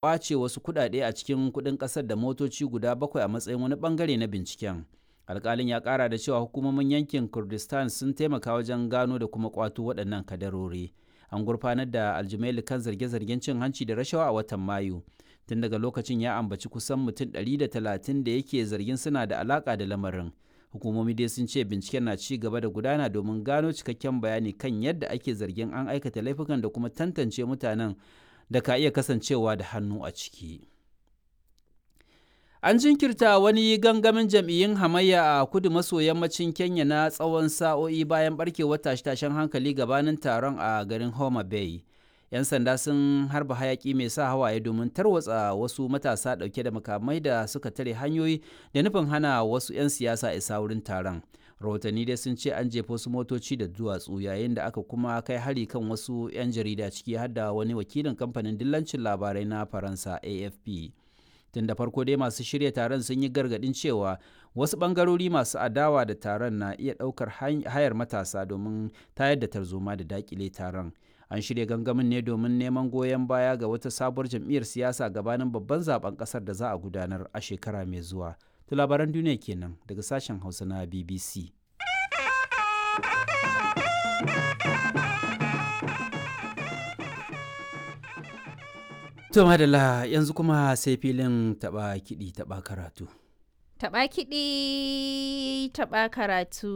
Ƙwace wasu kuɗaɗe a cikin kuɗin ƙasar da motoci guda bakwai a matsayin wani ɓangare na binciken. Alƙalin ya ƙara da cewa hukumomin yankin Kurdistan sun taimaka wajen gano da kuma ƙwato waɗannan kadarori. An gurfanar da Aljumaili kan zarge-zargen cin hanci da rashawa a watan Mayu. Tun daga lokacin ya ambaci kusan mutum 130 da yake zargin suna da alaƙa da lamarin. Hukumomi dai sun ce binciken na ci gaba da gudana domin gano cikakken bayani kan yadda ake zargin an aikata laifukan da kuma tantance mutanen da ka iya kasancewa da hannu a ciki. An jinkirta wani gangamin jam'iyyun hamayya a kudu maso yammacin Kenya na tsawon sa'o'i bayan barkewar tashe-tashen hankali gabanin taron a garin Homa Bay. 'Yan sanda sun harba hayaki mai sa hawaye domin tarwatsa wasu matasa ɗauke da makamai da suka tare hanyoyi da nufin hana wasu 'yan siyasa isa wurin taron. Rahotanni dai sun ce an jefa wasu motoci da duwatsu yayin da aka kuma kai hari kan wasu 'yan jarida, ciki har da wani wakilin kamfanin dillancin labarai na Faransa AFP. Tun da farko dai masu shirya taron sun yi gargadin cewa wasu bangarori masu adawa da taron na iya ɗaukar hayar matasa domin tayar da tarzoma da dakile taron. An shirya gangamin ne domin neman goyon baya ga wata sabuwar jam'iyyar siyasa gabanin babban zaben kasar da za a gudanar a shekara mai zuwa. To, labaran duniya kenan daga sashen Hausa na BBC. To madalla, yanzu kuma sai filin taɓa kiɗi taɓa karatu. Taɓa kiɗi taɓa karatu.